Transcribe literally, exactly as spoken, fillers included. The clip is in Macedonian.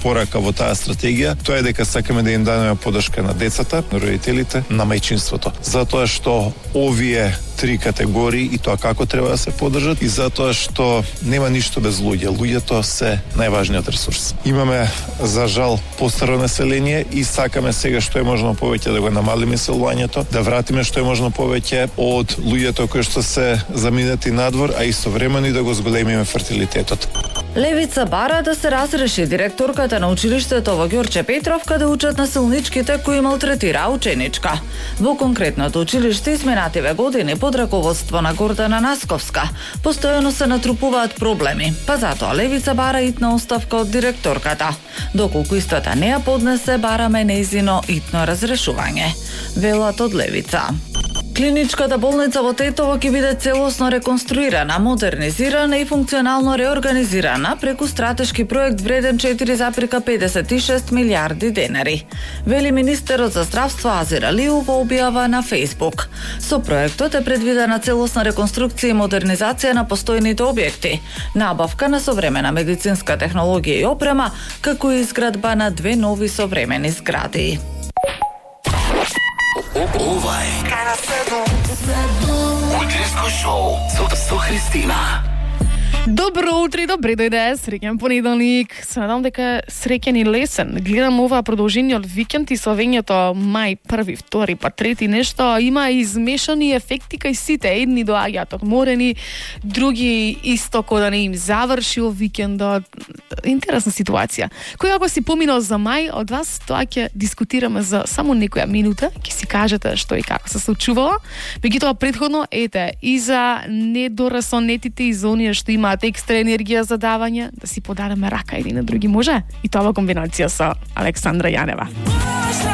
порака во таа стратегија, тоа е дека сакаме да им дадеме поддршка на децата, на родителите, на мајчинството. Затоа што овие три категории и тоа како треба да се поддржат и затоа што нема ништо без луѓе. Луѓето се најважниот ресурс. Имаме за жал постаро население и сакаме сега што е можно повеќе да го намалиме иселувањето, да вратиме што е можно повеќе од луѓето кои што се заминати надвор, а истовремено и да го зголемиме фертилитетот. Левица бара да се разреши директорката на училиштето во Ѓорче Петровка да учат насилничките кои малтретира ученичка. Во конкретното училиште изминативе години под раководство на Гордана Насковска постојано се натрупуваат проблеми, па затоа Левица бара итна оставка од директорката. Доколку истата не ја поднесе, бараме нејзино итно разрешување, велат од Левица. Клиничката болница во Тетово ќе биде целосно реконструирана, модернизирана и функционално реорганизирана преку стратешки проект вреден четири запирка педесет и шест милиарди денари, вели министерот за здравство Азир Алиев во објава на Facebook. Со проектот е предвидена целосна реконструкција и модернизација на постојните објекти, набавка на современа медицинска технологија и опрема, како и изградба на две нови современи згради. Ова е утринско шоу со, со Христина. Добро утро и добре дојде, среќен понеделник. Се надам дека среќен и лесен. Гледам ова продолжение од викенд и словењето мај први, втори, па трети нешто. Има измешани ефекти кај сите. Едни доаѓаат одморени, други исто кој да не им завршил викендот. Интересна ситуација. Кој ако си поминал за мај, од вас тоа ќе дискутираме за само некоја минута, ќе си кажете што и како се случувало. Меѓутоа претходно, ете, и за недорасонетите и за оние што има екстра енергија за давање, да си подадеме рака едни на други, може? И тоа во комбинација со Александра Јанева.